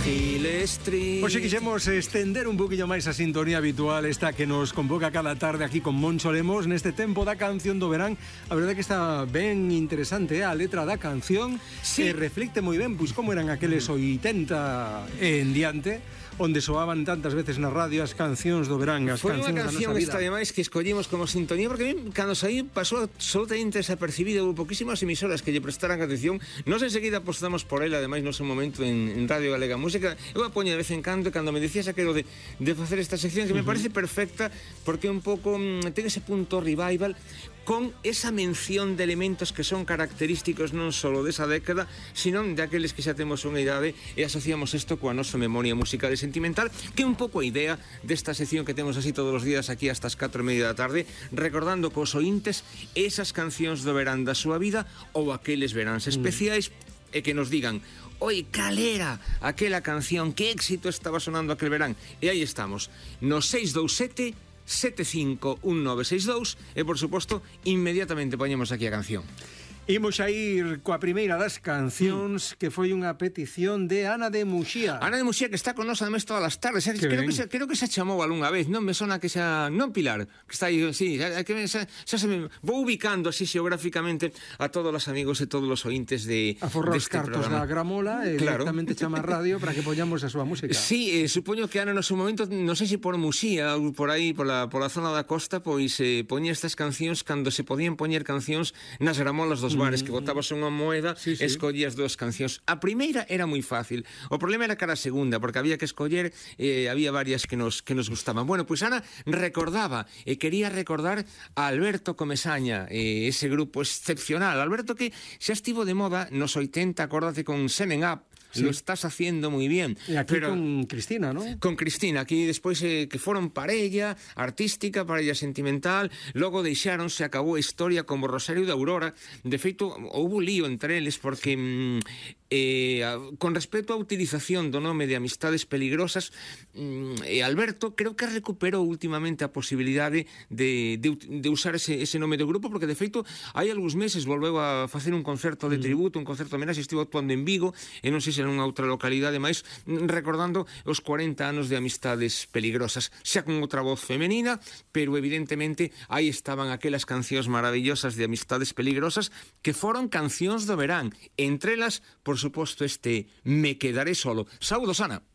Gilestri. Hoxe quixemos estender un poquillo máis a sintonía habitual, esta que nos convoca cada tarde aquí con Moncho Lemos neste tempo da canción do verán. A verdade que está ben interesante, a letra da canción sí. Reflicte moi ben pois como eran aqueles 80 en diante, onde soaban tantas veces na radio as cancións do verán, as Foi unha cancións da canción nosa vida. esta ademais que escollimos como sintonía, porque a mí, cando saí, pasou absolutamente desapercibida. Houve poquísimas emisoras que lle prestaran atención. Nos enseguida apostamos por ela, ademais no seu momento en Radio Galega Música. Eu a poño de vez en cando, e cando me dicías aquilo de facer esta sección, que me parece perfecta, porque un pouco ten ese punto revival, con esa mención de elementos que son característicos non só desa década, sino de aqueles que xa temos unha idade e asociamos isto coa nosa memoria musical e sentimental, que é un pouco a idea desta sección que temos así todos os días aquí hasta as 4:30 da tarde, recordando cos ointes esas cancións do verán da súa vida ou aqueles veráns especiais e que nos digan: oi, cal era aquela canción, que éxito estaba sonando aquel verán. E aí estamos, no 627 751962 e, por suposto, inmediatamente poñemos aquí a canción. Imos a ir coa primeira das cancións que foi unha petición de Ana de Muxía. Ana de Muxía, que está con nos además todas as tardes. Creo que se chamou algunha vez, non me sona que xa... Non, Pilar, que está aí, sí, xa se me... Vou ubicando así xeográficamente a todos os amigos e todos os ointes de aforrar os cartos da gramola e claro, directamente chama a radio para que poñamos a súa música. Sí, supoño que Ana no seu momento, non sei se por Muxía ou por aí, pola zona da costa, pois poñía estas cancións cando se podían poñer cancións nas gramolas dos bares, que botabas unha moeda, sí. Escollías dúas cancións. A primeira era moi fácil, o problema era cara a segunda, porque había que escoller, había varias que nos gustaban. Bueno, pois Ana recordaba e quería recordar a Alberto Comesaña, ese grupo excepcional. Alberto que xa estivo de moda nos 80, acórdate, con Semen Up. Sí. Lo estás haciendo muy bien. Y aquí pero, con Cristina, ¿no? Con Cristina, aquí despois que foron parella artística, parella sentimental, logo deixaron, se acabou a historia como Rosario de Aurora. De feito, houve lío entre eles porque con respecto á utilización do nome de Amistades Peligrosas, Alberto creo que recuperou últimamente a posibilidade de usar ese nome do grupo, porque de feito hai algúns meses volveu a facer un concerto de tributo, un concerto de homenaxe, estivo actuando en Vigo, e non sei se nunha outra localidade máis, recordando os 40 anos de Amistades Peligrosas, xa con outra voz femenina, pero evidentemente aí estaban aquelas cancións maravillosas de Amistades Peligrosas que foron cancións do verán, entre elas, por suposto, este Me quedaré solo. Saúdos, Ana.